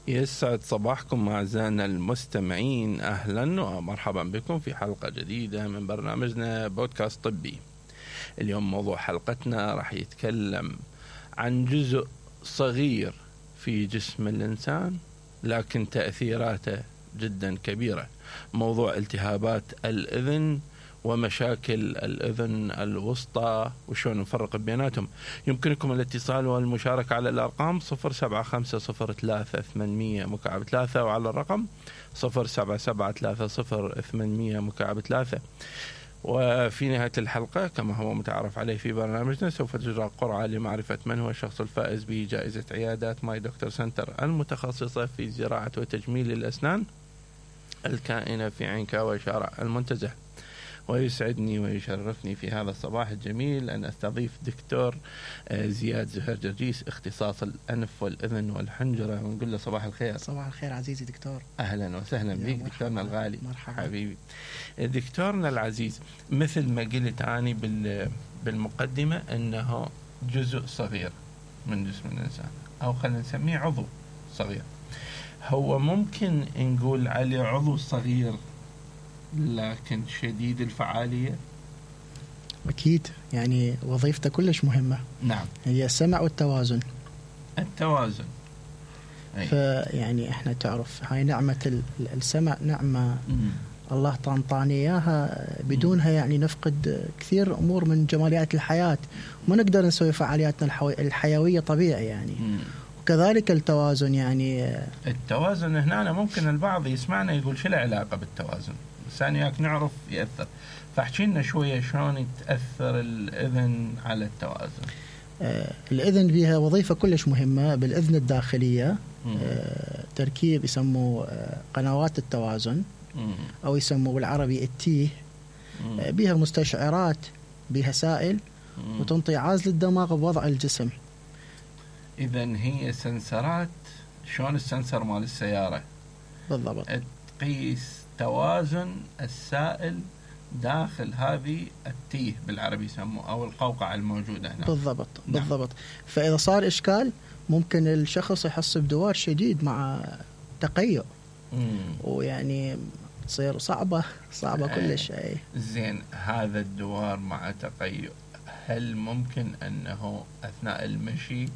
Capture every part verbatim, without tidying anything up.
يسعد صباحكم أعزائنا المستمعين، أهلا ومرحبا بكم في حلقة جديدة من برنامجنا بودكاست طبي. اليوم موضوع حلقتنا راح يتكلم عن جزء صغير في جسم الإنسان لكن تأثيراته جدا كبيرة، موضوع التهابات الأذن ومشاكل الأذن الوسطى وشون نفرق بيناتهم. يمكنكم الاتصال والمشاركة على الأرقام صفر سبعة خمسة صفر ثلاثة ثمانمية مكعب ثلاثة وعلى الرقم صفر سبعة سبعة ثلاثة صفر ثمانمية مكعب ثلاثة. وفي نهاية الحلقة كما هو متعارف عليه في برنامجنا سوف تجرى قرعة لمعرفة من هو الشخص الفائز بجائزة عيادات ماي دكتور سنتر المتخصصة في زراعة وتجميل الأسنان الكائنة في عين شارع المنتزه. ويسعدني ويشرفني في هذا الصباح الجميل أن أستضيف دكتور زياد زهير جرجيس، اختصاص الأنف والأذن والحنجرة، ونقول له صباح الخير. صباح الخير عزيزي دكتور. أهلا وسهلا بك دكتورنا الغالي. مرحبا حبيبي دكتورنا العزيز، مثل ما قلت أني بالمقدمة أنه جزء صغير من جسم الإنسان، أو خلينا نسميه عضو صغير. هو ممكن نقول عليه عضو صغير لكن شديد الفعالية؟ أكيد، يعني وظيفته كلش مهمة. نعم، هي السمع والتوازن. التوازن أي. فيعني احنا تعرف هاي نعمة السمع، نعمة مم. الله طانطاني إياها، بدونها يعني نفقد كثير أمور من جماليات الحياة، وما نقدر نسوي فعالياتنا الحيوية طبيعي يعني. مم. وكذلك التوازن، يعني التوازن هنا ممكن البعض يسمعنا يقول شو له علاقة بالتوازن، ثانياك نعرف يأثر. فاحكي لنا شوية شلون تأثر الأذن على التوازن. آه الأذن بها وظيفة كلش مهمة بالأذن الداخلية. آه تركيب يسموه آه قنوات التوازن، مم. أو يسموه بالعربي التيه. آه بها مستشعرات، بها سائل، مم. وتنطي عازل الدماغ بوضع الجسم. إذن هي سنسرات، شلون السنسر مال السيارة بالضبط، تقيس توازن السائل داخل هذه التيه بالعربي يسموه، أو القوقعة الموجودة هنا. بالضبط. نعم. بالضبط. فإذا صار إشكال ممكن الشخص يحس بدوار شديد مع تقيؤ، ويعني تصير صعبة صعبة كلش. أي زين، هذا الدوار مع تقيؤ هل ممكن أنه أثناء المشي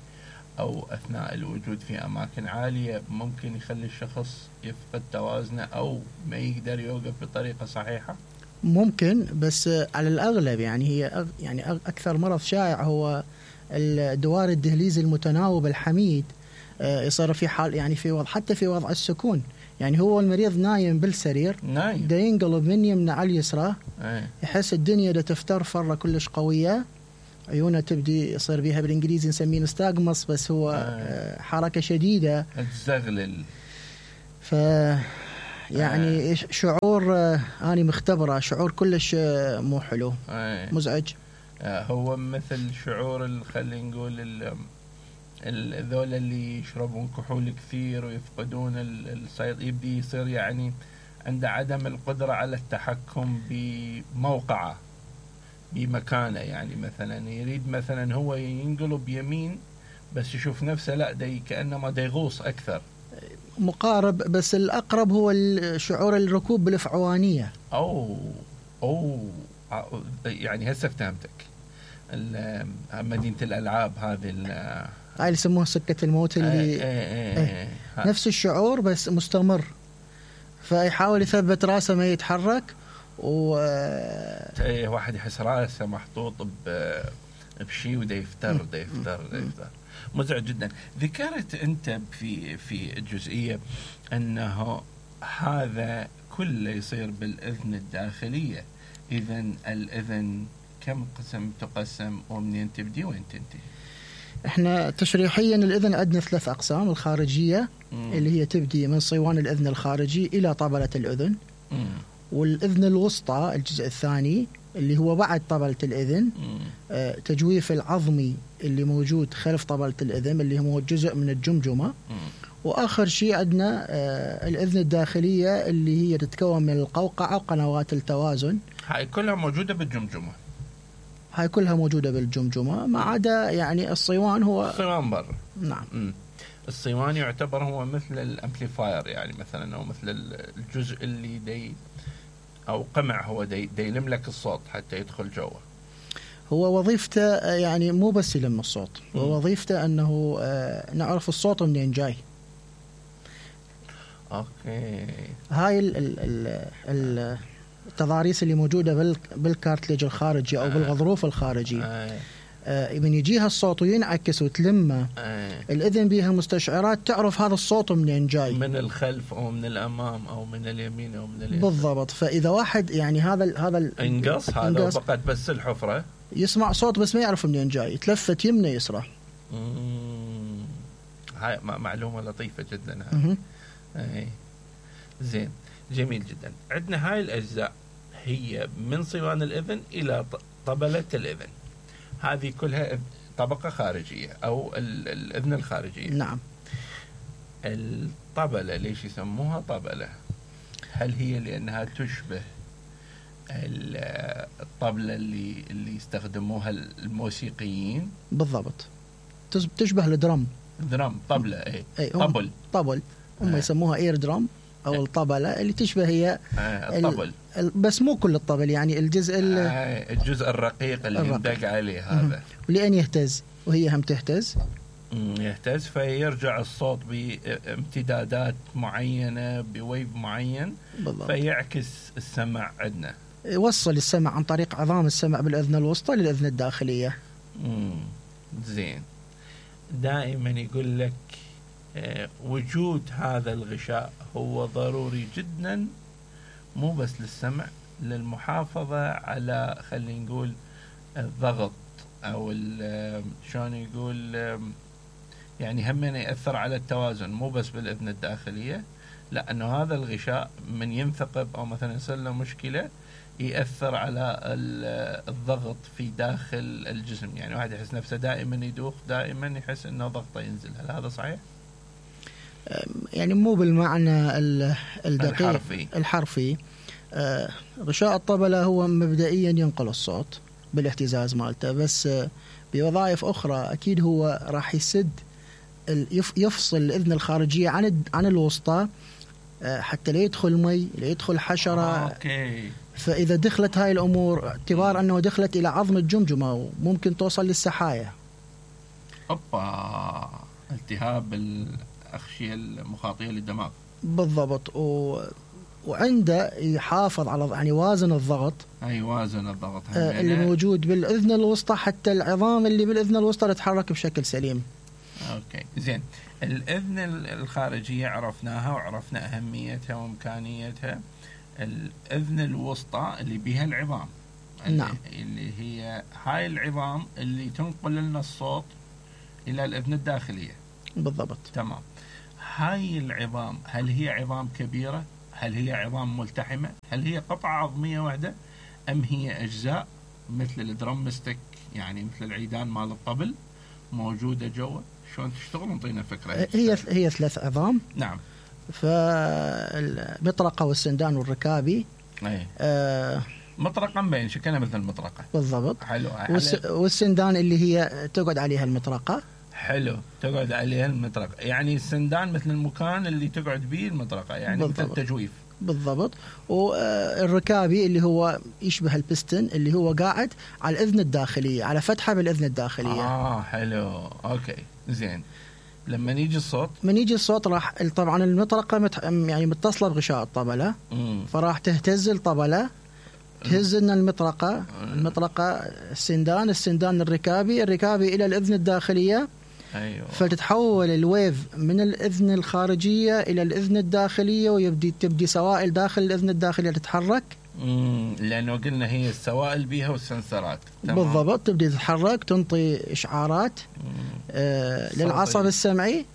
أو أثناء الوجود في أماكن عالية ممكن يخلي الشخص يفقد توازنه أو ما يقدر يوقف بطريقة صحيحة؟ ممكن، بس على الأغلب يعني هي يعني أكثر مرض شائع هو الدوار الدهليزي المتناوب الحميد. يصير في حال يعني في وضع، حتى في وضع السكون، يعني هو المريض نايم بالسرير، نايم دا ينقلب من يمنى على اليسرى، أي. يحس الدنيا دا تفتر فرة كلش قوية، عيونه تبدي يصير بيها بالإنجليزي نسميه نستاغمص، بس هو آه. حركة شديدة تزغلل. ف يعني آه. شعور آه أنا مختبرة، شعور كلش آه مو حلو، آه. مزعج. آه هو مثل شعور خلينا نقول الذول اللي يشربون كحول كثير ويفقدون الصيد، يبدي يصير يعني عنده عدم القدرة على التحكم بموقعه بمكانه. يعني مثلا يريد مثلا هو ينقلب يمين بس يشوف نفسه لا دي كأنما دي يغوص أكثر. مقارب، بس الأقرب هو شعور الركوب بالفعوانية. أو أو يعني هسه فهمتك، مدينة الألعاب هذه هاي اللي يسموها سكة الموت، اللي ايه ايه ايه ايه نفس الشعور بس مستمر، فيحاول يثبت راسه ما يتحرك، و ايه واحد يحس راسه محطوط بشيء وده يفتر ده يفتر ده يفتر مزعج جدا. ذكرت انت في في الجزئية انه هذا كله يصير بالاذن الداخلية. اذن الاذن كم قسم تقسم ومنين تبدي وين تنتهي؟ احنا تشريحيا الاذن عندنا ثلاث اقسام: الخارجية مم. اللي هي تبدي من صيوان الاذن الخارجي الى طبلة الاذن، مم. والاذن الوسطى الجزء الثاني اللي هو بعد طبلة الأذن، آه تجويف العظمي اللي موجود خلف طبلة الأذن اللي هو جزء من الجمجمة، مم. وآخر شيء عندنا آه الأذن الداخلية اللي هي تتكون من القوقعة وقنوات التوازن. هاي كلها موجودة بالجمجمة. هاي كلها موجودة بالجمجمة ما عدا يعني الصيوان. هو الصيوان برا. نعم. مم. الصيوان يعتبر هو مثل الامبليفاير يعني مثلا، او مثل الجزء اللي دي او قمع هو دي, دي يلم لك الصوت حتى يدخل جوه. هو وظيفته يعني مو بس يلم الصوت، هو وظيفته انه نعرف الصوت منين جاي. اوكي. هاي ال ال ال التضاريس اللي موجوده بالكارتليج الخارجي او بالغضروف الخارجي، آه. آه من يجيها الصوت وينعكس وتلمه، آه. الاذن بيها مستشعرات تعرف هذا الصوت منين جاي، من الخلف او من الامام او من اليمين او من اليسار. بالضبط. فاذا واحد يعني هذا هذا انقص هذا وبقت بس الحفره، يسمع صوت بس ما يعرف منين جاي، تلفت يمنه يسرى. امم هاي معلومه لطيفه جدا هاي. اي زين، جميل جدا. عندنا هاي الاجزاء هي من صوان الاذن الى طبله الاذن، هذه كلها طبقه خارجيه او الاذن الخارجيه. نعم. الطبله ليش يسموها طبله؟ هل هي لانها تشبه الطبله اللي اللي يستخدموها الموسيقيين؟ بالضبط، تشبه الدرم. درام، طبله. اي, أي طبل طبل هم آه. يسموها اير درام او آه. الطبله اللي تشبه هي آه. الطبل، ال... بس مو كل الطبل، يعني الجزء ال... آه. الجزء الرقيق اللي يندق عليه هذا، ولأن يهتز وهي هم تهتز يهتز فيرجع الصوت بامتدادات معينه بويف معين. بالضبط. فيعكس السمع عندنا، يوصل السمع عن طريق عظام السمع بالاذن الوسطى للاذن الداخليه. امم زين. دائما يقول لك آه وجود هذا الغشاء هو ضروري جدا، مو بس للسمع، للمحافظة على خلينا نقول الضغط او شلون يقول يعني هم يأثر على التوازن، مو بس بالأذن الداخلية، لا انه هذا الغشاء من ينثقب او مثلا يصير له مشكلة يأثر على الضغط في داخل الجسم. يعني واحد يحس نفسه دائما يدوخ، دائما يحس انه ضغطه ينزل. هل هذا صحيح؟ يعني مو بالمعنى الدقيق الحرفي, الحرفي. غشاء الطبلة هو مبدئيا ينقل الصوت بالاهتزاز مالته، بس بوظائف أخرى أكيد هو راح يسد يفصل الأذن الخارجية عن عن الوسطى حتى لا يدخل مي، لا يدخل حشرة. آه، أوكي. فإذا دخلت هاي الأمور، اعتبار أنه دخلت إلى عظم الجمجمة وممكن توصل للسحايا. أوبا، التهاب الأغشية المخاطية للدماغ. بالضبط. و... وعنده يحافظ على يعني وازن الضغط. أي وازن الضغط آه اللي موجود بالأذن الوسطى، حتى العظام اللي بالأذن الوسطى تتحرك بشكل سليم. أوكي زين. الأذن الخارجية عرفناها وعرفنا أهميتها وإمكانيتها. الأذن الوسطى اللي بها العظام، نعم، اللي هي هاي العظام اللي تنقل لنا الصوت إلى الأذن الداخلية. بالضبط. تمام. هاي العظام هل هي عظام كبيرة؟ هل هي عظام ملتحمة؟ هل هي قطعة عظمية واحدة؟ أم هي أجزاء مثل الدرمستك، يعني مثل العيدان مال الطبل موجودة جوا؟ شلون تشتغل؟ نعطينا فكرة. هي هي ثلاث عظام. نعم. فالمطرقة والسندان والركابي. أي. آه مطرقة مبين شكلها مثل المطرقة. بالضبط. حلو. والس... والسندان اللي هي تقعد عليها المطرقة. حلو، تقعد عليها المطرقة، يعني السندان مثل المكان اللي تقعد به المطرقة، يعني بالضبط. مثل التجويف. بالضبط. والركابي اللي هو يشبه البستن، اللي هو قاعد على الأذن الداخلية، على فتحة بالأذن الداخلية. آه حلو، أوكي زين. لما يجي الصوت من يجي الصوت راح طبعا المطرقة مت... يعني متصلة بغشاء الطبلة، مم. فراح تهتز الطبلة، تهز لنا المطرقة، المطرقة السندان، السندان الركابي، الركابي إلى الأذن الداخلية. أيوة. فتتحول الويف من الأذن الخارجية إلى الأذن الداخلية، ويبدي تبدي سوائل داخل الأذن الداخلية تتحرك. امم لأنه قلنا هي السوائل بيها والسنسرات. بالضبط. تبدي تتحرك، تنطي إشعارات آه للعصب السمعي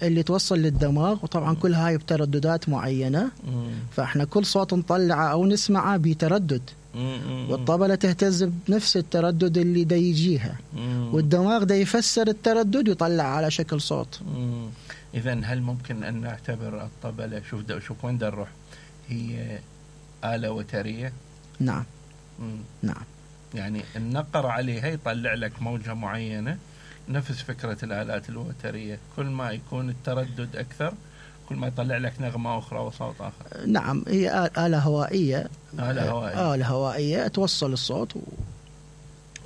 اللي توصل للدماغ، وطبعا مم. كل هاي بترددات معينة. مم. فإحنا كل صوت نطلعه أو نسمعه بتردد، والطبلة تهتز بنفس التردد اللي دا يجيها، والدماغ دا يفسر التردد ويطلع على شكل صوت. إذن هل ممكن أن نعتبر الطبلة، شوف دا شوف وين دا نروح، هي آلة وترية؟ نعم. مم. نعم. يعني النقر عليها يطلع لك موجة معينة نفس فكرة الآلات الوترية، كل ما يكون التردد أكثر كل ما يطلع لك نغمة أخرى وصوت آخر. نعم، هي آلة هوائية. آلة هوائية. آلة هوائية توصل الصوت و...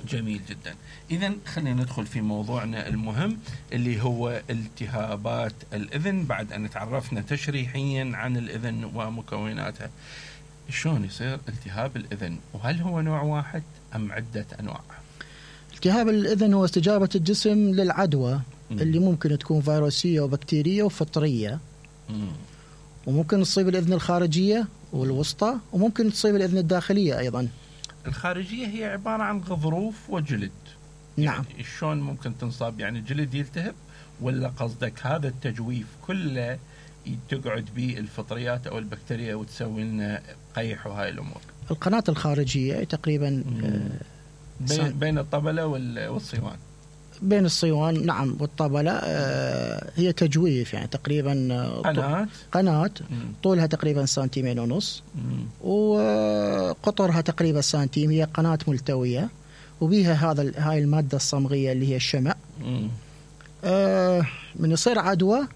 جميل جدا. إذن خلينا ندخل في موضوعنا المهم اللي هو التهابات الأذن. بعد أن تعرفنا تشريحيا عن الأذن ومكوناتها، شلون يصير التهاب الأذن؟ وهل هو نوع واحد أم عدة أنواع؟ التهاب الأذن هو استجابة الجسم للعدوى م. اللي ممكن تكون فيروسية وبكتيرية وفطرية. م. وممكن تصيب الأذن الخارجية والوسطى، وممكن تصيب الأذن الداخلية أيضا. الخارجية هي عبارة عن غضروف وجلد. نعم. يعني شلون ممكن تنصاب؟ يعني جلد يلتهب، ولا قصدك هذا التجويف كله تقعد به الفطريات أو البكتيريا وتسوي لنا قيح وهاي الأمور؟ القناة الخارجية تقريبا بين, بين الطبلة والصيوان. بين الصيوان نعم والطبلة، هي تجويف يعني تقريبا قناة قناة طولها تقريبا سنتيمين ونص وقطرها تقريبا سنتيم. هي قناة ملتوية وبيها هذا هاي المادة الصمغية اللي هي الشمع. آه من يصير عدوى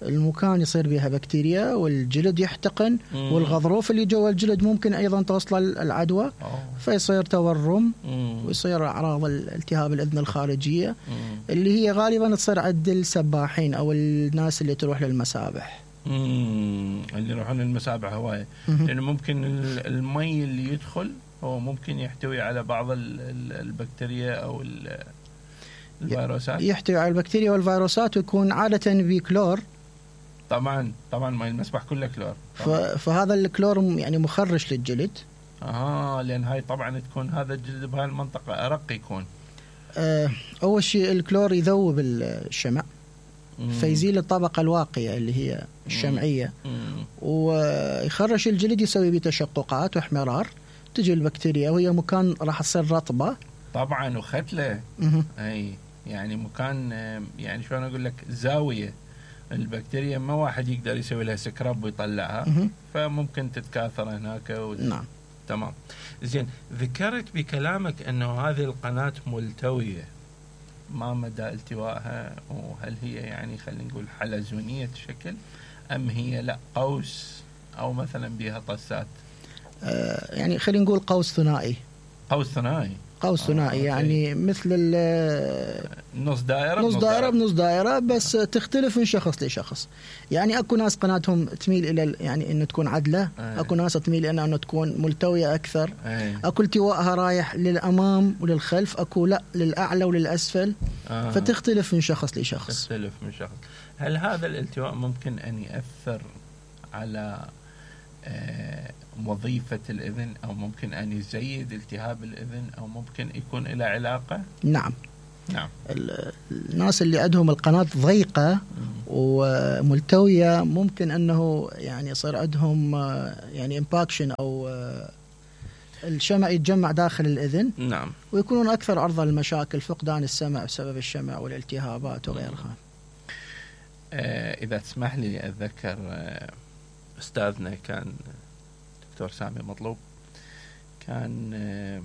المكان يصير بها بكتيريا والجلد يحتقن، مم. والغضروف اللي جوا الجلد ممكن أيضا توصل العدوى، أوه. فيصير تورم، مم. ويصير أعراض الالتهاب الأذن الخارجية، مم. اللي هي غالبا تصير عند السباحين أو الناس اللي تروح للمسابح. مم. اللي يروحون للمسابح هواية، لأنه ممكن المي اللي يدخل هو ممكن يحتوي على بعض البكتيريا أو الفيروسات. يحتوي على البكتيريا والفيروسات، ويكون عادة بكلور. طبعا طبعا ما المسبح كله كلور. فهذا الكلور يعني مخرش للجلد. اه لان هاي طبعا تكون هذا الجلد بهاي المنطقه ارق يكون. آه اول شيء الكلور يذوب الشمع، مم. فيزيل الطبقه الواقيه اللي هي الشمعيه، مم. ويخرش الجلد، يسوي به تشققات واحمرار، تجي البكتيريا وهي مكان راح تصير رطبه طبعا وختله. مم. اي يعني مكان، يعني شلون اقول لك، زاويه. البكتيريا ما واحد يقدر يسوي لها سكراب ويطلعها، م- فممكن تتكاثر هناك و... نعم. تمام. زين، ذكرت بكلامك أنه هذه القناة ملتوية، ما مدى التوائها؟ وهل هي يعني خلينا نقول حلزونية شكل، أم هي لا قوس أو مثلا بها طسات؟ آه يعني خلينا نقول قوس ثنائي. قوس ثنائي. قوس ثنائي، آه يعني مثل نص دائرة نص دائرة بنص دائرة، بس تختلف من شخص لشخص. يعني اكو ناس قناتهم تميل الى يعني انه تكون عدلة، أيه. اكو ناس تميل الى انه تكون ملتوية اكثر، أيه. اكو التوائها رايح للامام وللخلف، اكو لا للاعلى وللاسفل، آه. فتختلف من شخص لشخص. تختلف من شخص. هل هذا الالتواء ممكن ان يأثر على آه وظيفة الأذن، أو ممكن أن يزيد التهاب الأذن، أو ممكن يكون إلى علاقة؟ نعم. نعم. الناس اللي عندهم القناة ضيقة وملتوية ممكن أنه يعني يصير عندهم يعني امباكشن أو الشمع يتجمع داخل الأذن. نعم. ويكونون أكثر عرضة للمشاكل، فقدان السمع بسبب الشمع والالتهابات وغيرها. آه إذا تسمح لي أتذكر آه أستاذنا كان دكتور سامي مطلوب، كان آه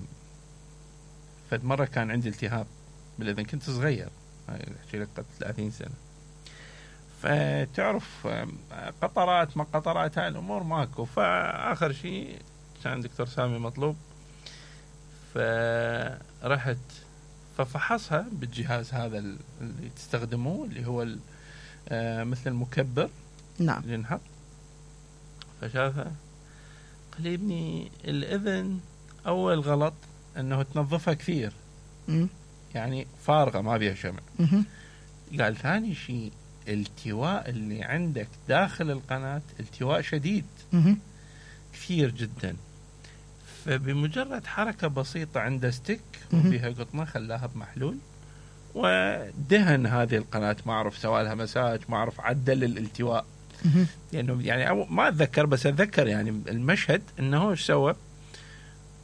فد مرة كان عندي التهاب بالأذن، كنت صغير، أحكي لك قبل ثلاثين سنة. فتعرف قطرات ما قطرات هاي الأمور ماكو. فآخر شيء كان دكتور سامي مطلوب، فرحت ففحصها بالجهاز هذا اللي تستخدموه، اللي هو مثل المكبر. نعم. اللي ينحط. فشافها قال لي ابني الأذن أول غلط أنه تنظفها كثير، م- يعني فارغة ما بيها شمع. م- قال ثاني شيء التواء اللي عندك داخل القناة التواء شديد، م- كثير جدا. فبمجرد حركة بسيطة عنده ستيك وبيها قطنة خلاها بمحلول ودهن هذه القناة، ما أعرف سوالها مساج، ما أعرف عدل الالتواء. يعني يعني ما أتذكر، بس أتذكر يعني المشهد أنه إيش سوى.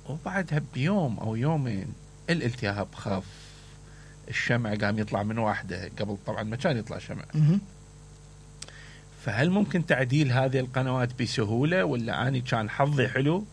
وبعدها بيوم أو يومين الالتهاب خاف، الشمع قام يطلع من واحدة، قبل طبعا ما كان يطلع شمع. فهل ممكن تعديل هذه القنوات بسهولة، ولا أني كان حظي حلو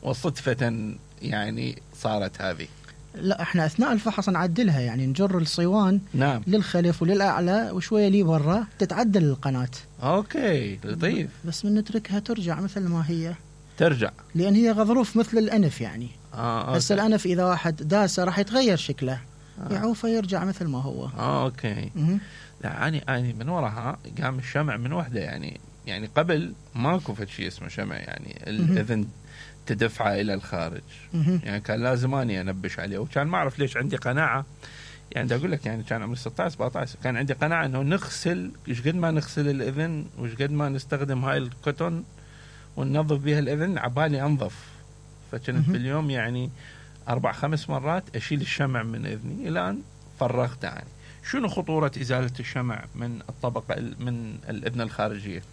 وصدفة يعني صارت هذه؟ لا احنا اثناء الفحص نعدلها، يعني نجر الصيوان نعم للخلف وللاعلى وشويه لي برا تتعدل القناه. اوكي لطيف. بس من نتركها ترجع مثل ما هي، ترجع لان هي غضروف مثل الانف يعني. اه هسه الانف اذا واحد داسه راح يتغير شكله، آه. يعوفه يرجع مثل ما هو. آه اوكي. م- لا اني اني من وراها قام الشمع من وحده، يعني يعني قبل ماكو فد شيء اسمه شمع، يعني الاذن تدفعه الى الخارج، م- يعني كان لازم اني انبش عليه، وكان ما اعرف ليش عندي قناعه، يعني بدي اقول لك يعني كان عمري ستة عشر سبعة عشر كان عندي قناعه انه نغسل ايش قد ما نغسل الاذن وايش قد ما نستخدم هاي الكوتون وننظف بها الاذن عبالي انظف. فكنت مهم. باليوم يعني اربع خمس مرات اشيل الشمع من اذني الى ان فرغته. يعني شنو خطوره ازاله الشمع من الطبقه ال- من الاذن الخارجيه؟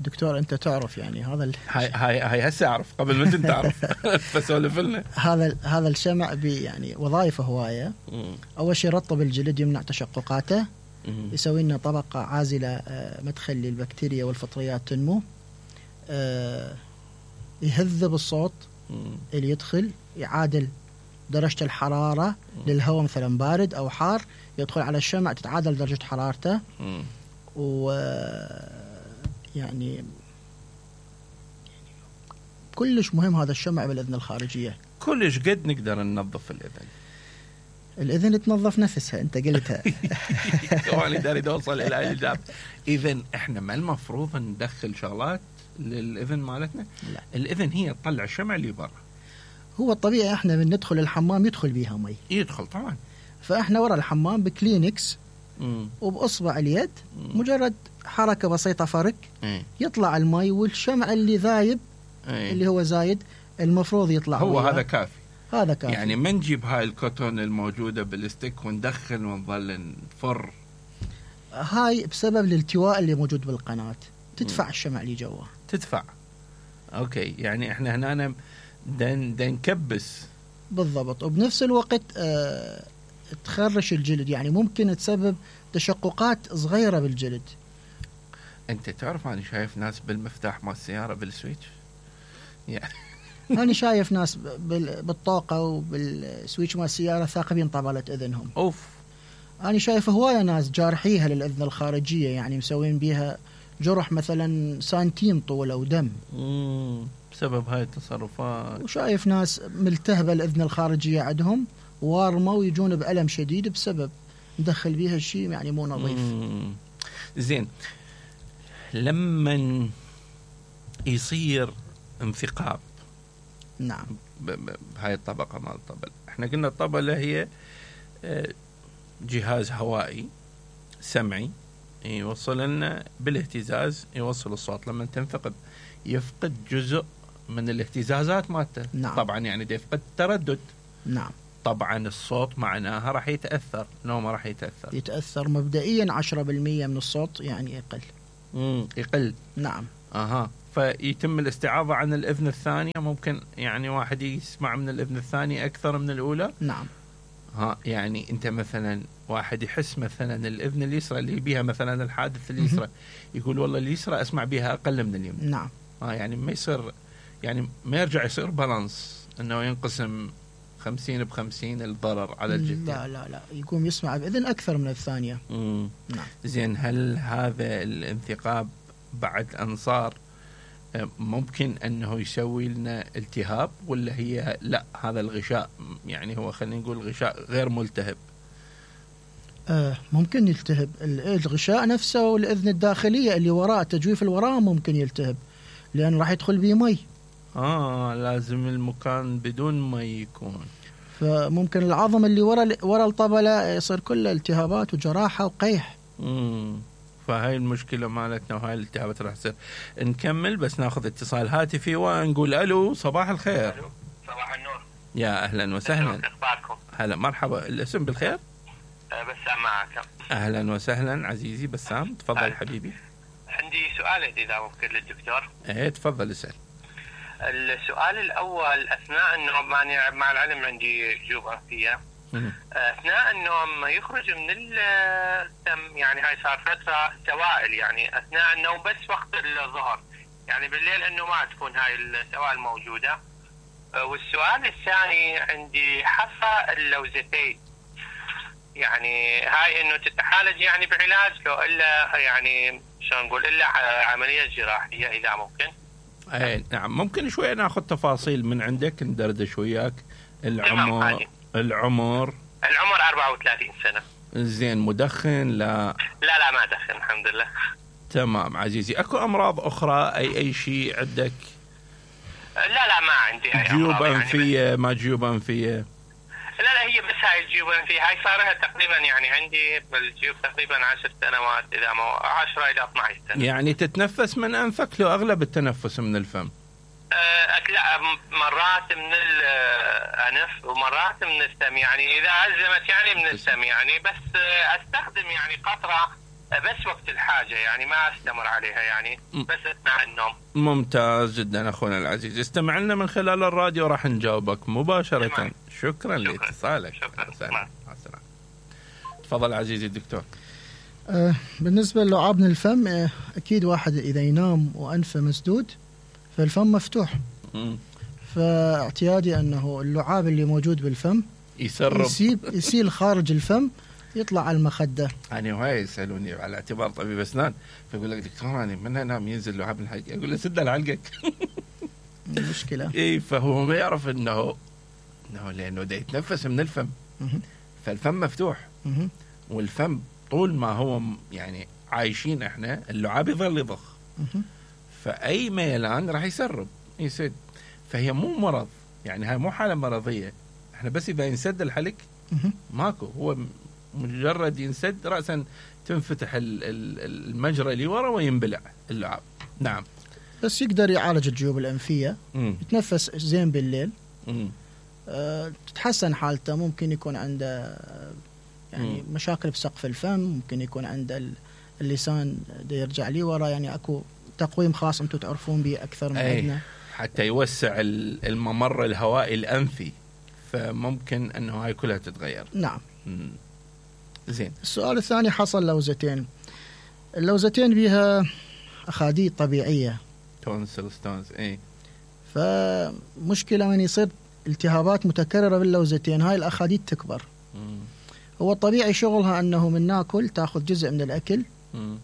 دكتور انت تعرف يعني هذا ال... هاي هاي هاي هسه اعرف قبل ما انت تعرف فسولف لنا. هذا ال- هذا الشمع بي يعني وظائفه هوايه. اول شيء يرطب الجلد، يمنع تشققاته، يسوي لنا طبقه عازله آه، مدخل للبكتيريا والفطريات تنمو، آه، يهذب الصوت اللي يدخل، يعادل درجة الحرارة للهواء مثلا بارد أو حار، يدخل على الشمع تتعادل درجة حرارته. و يعني كلش مهم هذا الشمع بالأذن الخارجية. كلش قد نقدر ننظف الاذن؟ الأذن تنظف نفسها، أنت قلتها. وانا داري اوصل الى هاي الاجابه. اذا احنا ما المفروض ندخل شغلات للاذن مالتنا؟ لا. الاذن هي تطلع الشمع اللي برا. هو الطبيعي احنا من ندخل الحمام يدخل بيها مي، يدخل طبعا. فاحنا ورا الحمام بكلينكس مم. وبأصبع اليد مم. مجرد حركة بسيطة فرك ايه. يطلع المي، والشمع اللي ذايب ايه. اللي هو زايد المفروض يطلع هو وياه. هذا كافي. هذا كافي. يعني ما نجيب هاي الكوتون الموجودة بالستيك وندخل ونظل نفر. هاي بسبب الالتواء اللي موجود بالقناة تدفع الشمع اللي جوا. تدفع. اوكي، يعني احنا هنا دن دن نكبس. بالضبط. وبنفس الوقت اه تخرش الجلد، يعني ممكن تسبب تشققات صغيرة بالجلد. انت تعرف انا شايف ناس بالمفتاح مال السيارة بالسويتش، يعني أنا شايف ناس بال- بالطاقة وبالسويتش مال السيارة ثاقبين طبلة أذنهم. اوف. أنا شايف هواية ناس جارحيها للأذن الخارجية، يعني مسوين بيها جرح مثلا سنتيم طولة ودم. مم. بسبب هاي التصرفات. وشايف ناس ملتهبة الأذن الخارجية عندهم وارمة ويجون بألم شديد بسبب ندخل بيها الشيء يعني مو نظيف. مم. زين، لما يصير انثقاب نعم. ب- ب- بهاي الطبقة مال الطبل، احنا قلنا الطبلة هي آه، جهاز هوائي سمعي يوصل لنا بالاهتزاز، يوصل الصوت. لما تنثقب يفقد جزء من الاهتزازات مالته. نعم. طبعا يعني دا يفقد التردد. نعم. طبعا الصوت معناها راح يتأثر، لو ما راح يتأثر يتأثر مبدئيا عشرة بالمية من الصوت يعني يقل. مم. يقل. نعم. اها، فيتم الاستعاضة عن الأذن الثانية. ممكن يعني واحد يسمع من الأذن الثانية أكثر من الأولى. نعم. ها، يعني أنت مثلا واحد يحس مثلا الأذن اليسرى اللي بيها مثلا الحادث اليسرى، يقول والله اليسرى أسمع بيها أقل من اليمنى. نعم. ها، يعني ما يصير، يعني ما يرجع يصير بالانس انه ينقسم خمسين بخمسين الضرر على الجد. لا لا لا، يقوم يسمع بإذن أكثر من الثانية. مم. نعم. زين، هل هذا الانثقاب بعد أنصار ممكن أنه يسوي لنا التهاب، ولا هي لا هذا الغشاء يعني هو خلينا نقول غشاء غير ملتهب؟ آه ممكن يلتهب الغشاء نفسه، والإذن الداخلية اللي وراء تجويف الوراء ممكن يلتهب لأن راح يدخل به مي. آه لازم المكان بدون مي يكون. فممكن العظم اللي ورا ورا الطبلة يصير كله التهابات وجراحة وقيح. امم فهاي المشكلة مالتنا وهاي الالتهابات راح تصير. نكمل بس ناخذ اتصال هاتفي ونقول الو، صباح الخير. الو، صباح النور. يا اهلا وسهلا. اخباركم؟ هلا مرحبا، الاسم بالخير؟ أه بسام معك. اهلا وسهلا عزيزي بسام، تفضل أهلا. حبيبي. عندي سؤال اذا ممكن للدكتور. ايه تفضل اسال. السؤال الاول، اثناء النوم، انا مع العلم عندي جيوب انفيه، اثناء النوم يخرج من الدم، يعني هاي صار فتره سوائل يعني اثناء النوم بس وقت الظهر، يعني بالليل انه ما تكون هاي السوائل موجوده. والسؤال الثاني عندي حصى اللوزتين، يعني هاي انه تتعالج يعني بعلاج لو الا يعني شلون نقول الا عمليه جراحيه اذا ممكن؟ اي نعم، ممكن شويه ناخذ تفاصيل من عندك ندردش وياك. العمر العمر العمر أربعة وثلاثين سنه. زين، مدخن؟ لا لا لا ما ادخن الحمد لله. تمام عزيزي. اكو امراض اخرى اي اي شيء عندك؟ لا لا ما عندي اي جيوب انفيه؟ يعني ما جيوب انفيه؟ لا لا هي بس هاي الجيوب الانفيه هاي صار لها تقريبا يعني عندي بالجيوب تقريبا عشر سنوات اذا ما عشرة الى اثني عشر سنه. يعني تتنفس من انفك لو اغلب التنفس من الفم؟ أه لا مرات من الانف ومرات من الفم، يعني اذا ازمت يعني من الفم يعني، بس استخدم يعني قطره بس وقت الحاجه يعني ما استمر عليها يعني بس اثناء النوم. ممتاز جدا اخونا العزيز، استمع لنا من خلال الراديو راح نجاوبك مباشره. تمام. شكرا لاتصالك. شكرا. مع السلامه. تفضل عزيزي الدكتور. أه بالنسبه للعاب من الفم، أه اكيد واحد اذا ينام وانفه مسدود فالفم مفتوح، م. فاعتيادي انه اللعاب اللي موجود بالفم يسرب يسيب يسيل خارج الفم يطلع على المخده. يعني هواي يسالوني على اعتبار طبيب اسنان، فيقول لك دكتور انا من انام ينزل لعاب الحلق، اقول له سد لعلقك. مشكله. اي فهو ما يعرف انه انه لانه ده يتنفس من الفم، فالفم مفتوح، والفم طول ما هو يعني عايشين احنا اللعاب يظل يضخ، فاي ميلان راح يسرب يسد. فهي مو مرض، يعني هاي مو حاله مرضيه، احنا بس اذا ينسد الحلق ماكو، هو مجرد ينسد راسا تنفتح المجرى اللي ورا وينبلع اللعاب. نعم، بس يقدر يعالج الجيوب الانفيه، مم. يتنفس زين بالليل، أه تتحسن حالته. ممكن يكون عنده يعني مم. مشاكل بسقف الفم، ممكن يكون عنده اللسان ده يرجع لي ورا، يعني اكو تقويم خاص انتم تعرفون به اكثر من عندنا حتى يوسع الممر الهوائي الانفي، فممكن انه هاي كلها تتغير. نعم. مم. زين. السؤال الثاني حصل لوزتين. اللوزتين بها اخاديد طبيعيه، تونسل ستونز. اي فمشكله من يصير التهابات متكرره باللوزتين هاي الاخاديد تكبر. مم. هو الطبيعي شغلها انه من ناكل تاخذ جزء من الاكل، مم.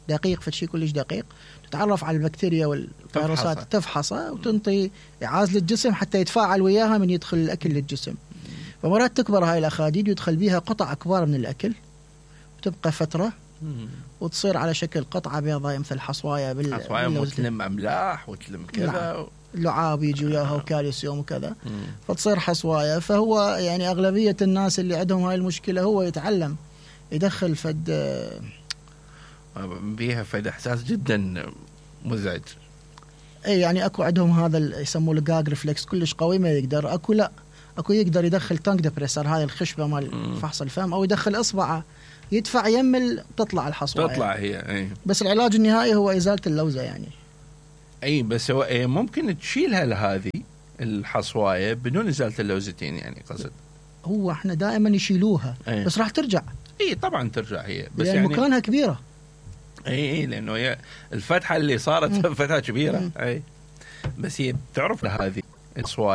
دقيق فشي كلش دقيق، تتعرف على البكتيريا والفيروسات، تفحصها وتنطي إعاز للجسم حتى يتفاعل وياها من يدخل الأكل للجسم. فمرات تكبر هاي الأخاديد ويدخل بيها قطع أكبر من الأكل وتبقى فترة وتصير على شكل قطعة بيضاء مثل حصوايا بال حصوايا وتلم أملاح وتلم كذا. نعم. لعاب يجي وياها وكالسيوم وكذا، فتصير حصوايا. فهو يعني أغلبية الناس اللي عندهم هاي المشكلة هو يتعلم يدخل فد بيها فد إحساس جدا مزعج. اي يعني اكو عندهم هذا يسموه الجاج ريفلكس كلش قوي، ما يقدر. اكو لا اكو يقدر يدخل تانك ديبريسر، هاي الخشبه مال فحص الفم، او يدخل اصبعه يدفع يمل تطلع الحصوه، تطلع هي. اي بس العلاج النهائي هو ازاله اللوزه يعني. اي بس هو إيه ممكن تشيلها لهذه الحصوايه بدون ازاله اللوزتين يعني قصد. هو احنا دائما يشيلوها أي. بس راح ترجع. اي طبعا ترجع هي، بس يعني, يعني مكانها كبيره. اي اي لانه هي الفتحه اللي صارت فتحه كبيره. اي بس هي بتعرف لهذه الصوايا